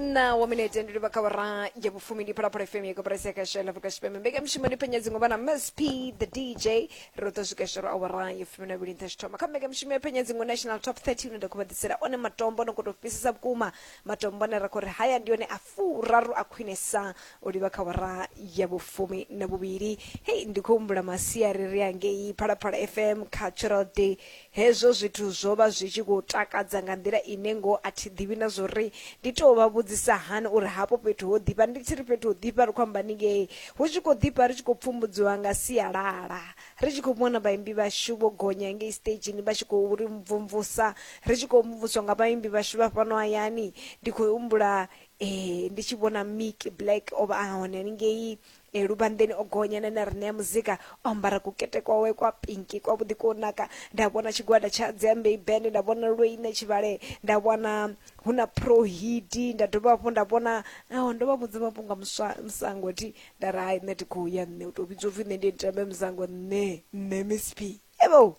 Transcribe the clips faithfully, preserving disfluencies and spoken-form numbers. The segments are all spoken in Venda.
Ina wa minete ndi livha kha awara ya vhufumi. Ndi Phalaphala F M ya koporasi ya khasho ya Afrika Tshipembe. Mbekanyamushumo ndi Penya Dzingo na Miss P the D J. Ro ḓo swika shoro awara ya fumi na vhili nṱha tshithoma kha mbekanyamushumo ya Penya Dzingo National Top thirty, une nda khou vha ḓisela one matombo no khou tou fhisesa vhukuma, matombo ane ra khou ri haya ndi one a furaru a khwinesa u livha kha awara ya vhufumi na vhuvhili. Hei, ndi khou humbula masiari ri angei Phalaphala F M Cultural Day. Hezwo zwithu zwo vha zwi tshi khou takadza nga nḓila ine ngo a thi ḓivhi na zwori ndi tou vha vhudzisa hani uri hafho fhethu ho ḓifha. Ndi tshi ri fhethu ho ḓifha, ri khou amba ningei hu tshi khou ḓifha, ri tshi khou pfumbudziwa nga sialala, ri tshi khou vhona vhaimbi vhashu vho gonya ngei stagini vha tshi khou ri mvumvusa, ri tshi khou mvumvuswa nga vhaimbi vhashu vha fhano hayani. Ndi khou humbula eh ndi tshi vhona Mick Black o vha a hone haningei e luvhanḓeni, o gonya na na ri ṋea muzika o ambara kukete kwawe kwa pinki kwavhuḓi ko naka. Nda vhona tshigwada tsha Dziambei Band, nda vhona Lweine Tshivhale, nda vhona hu na Prohidi, nda dovha hafhu nda vhona oh, ndo vha vhudza mafhungo a muswa musango thi, nda ri hai, nṋe thi khou ya, nṋe u tou vhidzwa upfhi nṋe ndi tambe musango, nṋe nṋe Miss P evo.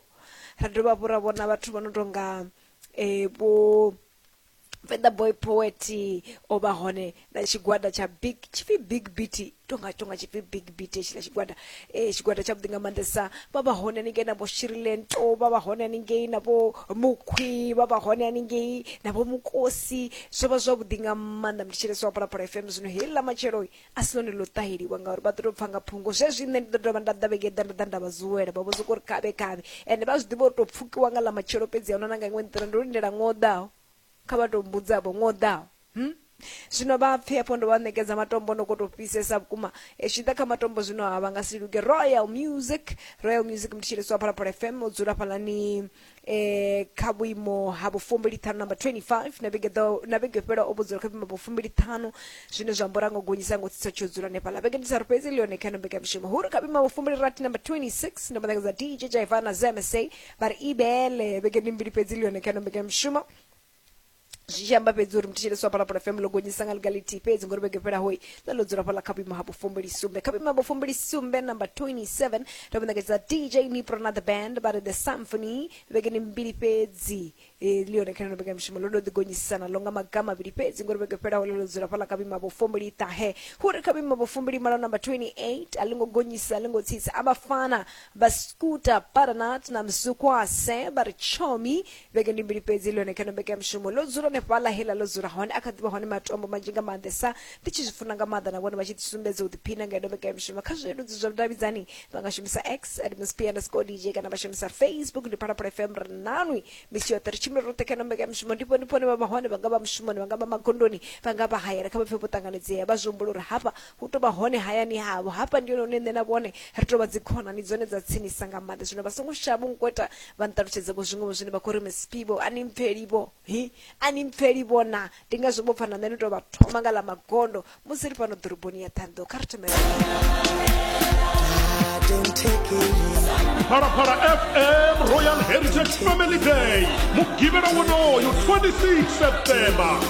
Ra dovha hafhu ra vhona vhathu vha no tonga eh, vho Feather Boy Poet o vha hone na tshigwada tsha Big, tshipfi Big Beat, tonga tonga tshipfi Big Beat hetshiḽa tshigwada, eh tshigwada tshavhuḓi nga maanḓesa. Vha vha hone haningei na vho Shirilento, vha vha hone haningei na vho Mukhwi, vha vha hone haningei na vho Mukosi. Zwo vha zwavhuḓi nga maanḓa, mthetshelesi wa Phalaphala F M. Zwino heiḽa matshelo a si ḽone ḽo ṱaheliwa ngauri vha ḓo tou pfa nga phungo zwezwi. Nṋe ndi ḓo dovha nda ḓa vhege ḓa, nda ḓa nda vha zuwela, vha vho soko uri khavhe khavhe, ende vha zwi ḓivha uri tou pfukiwa nga ḽa matshelo fhedzi, ahuna na nga iṅwe nḓila. Ndo lindela ṅwaha u ḓaho, kha vha tou mbudza vho ṅwaha u ḓaho hmm? Zwino vha pfhe hafho ndo vha ṋekedza matombo no khou tou fhisesa vhukuma. E tshi ḓa kha matombo zwino ha vha nga si luge. Royal Music, Royal Music, mthetshelesi wa Phalaphala F M, o dzula fhalani eh kha vhuimo ha vhufumbili ṱhanu, number twenty-five, na vhege ḓo na vhege fhela o vhudzula kha vhuimo vhufumbili ṱhanu, zwine zwa amba uri a ngo gonyisa, ngo tsitsa tsho dzula hanefhaḽa. Vhege ndi tharu fhedzi ḽi yone kha ino mbekanyamushumo. Hu ri kha vhuimo ha vhufumbili rathi, number twenty-six, ndo vha ṋekedza D J Jaivana Z M S A, vha ri ibele. Vhege ndi mbili fhedzi ḽi yone kha ino mbekanyamushumo, zwi tshi amba fhedzi uri mthetshelesi wa Phalaphala F M ḽo gonyisa nga ḽiga ḽithihi fhedzi, ngori vhege fhelaho ḽa ḽo dzula fhaḽa kha vhuimo ha vhufumbili sumbe. Kha vhuimo ha vhufumbili sumbe, number twenty-seven, ndo vha ṋekedza D J Nipro na the band, vha ri The Symphony. Vhege ndi mbili fhedzi ḽi yone kha ino mbekanyamushumo, ḽo ndo ḓi gonyisana ḽo nga maga mavhili fhedzi, ngori vhege fhelaho ḽo ḽo dzula fhaḽa kha vhuimo ha vhufumbili ṱahe. Hu ri kha vhuimo ha vhufumbili malo, number twenty-eight, a ḽi ngo gonyisa, a ḽi ngo tsitsa, abafana vha Scooter Butternut na Mzukwase, vha ri Chomi. Vhege ndi mbili fhedzi ḽi yone kha ino mbekanyamushumo, ḽo dzula hanefhaḽa heḽa ḽo dzula hone. A kha ḓivha hone matombo manzhi nga maanḓesa, ndi tshi zwi funa nga maanḓa na vhone vha tshi ḓi sumbedza u ḓiphina nga ino mbekanyamushumo. Kha zwileludzi zwa vhudavhidzani vha nga shumisa X at Miss P underscore D J kana vha shumisa Facebook ndi Phalaphala F M. Ri nanwi misi yoṱhe, ri tshimbile roṱhe kha ino mbekanyamushumo. Ndi ndi hone vha vha hone, vha nga vha mushumoni, vha nga vha magondoni, vha nga vha hayani, kha vha pfe vho ṱanganedzea, vha zwi humbula uri hafha hu tou vha hone hayani havho, hafha ndi hone hune nṋe na vhone ri tou vha dzikhonani dzone dza tsinisa nga maanḓa. Zwino vha songo shavha u nkweta, vha nṱalutshedze vho zwiṅwe zwine vha khou ri Miss P vho a ni mpfeli vho hi, a ni mpfeli vhona. Ndi ngazwo vho pfa na nṋe ndi tou vha thoma nga ḽa magondo musi ri fhano ḓoroboni ya Ṱhohoyanḓou. Kha ri thome. Phalaphala F M Royal Heritage Family Day, mugivhela wonoyu twenty-six September.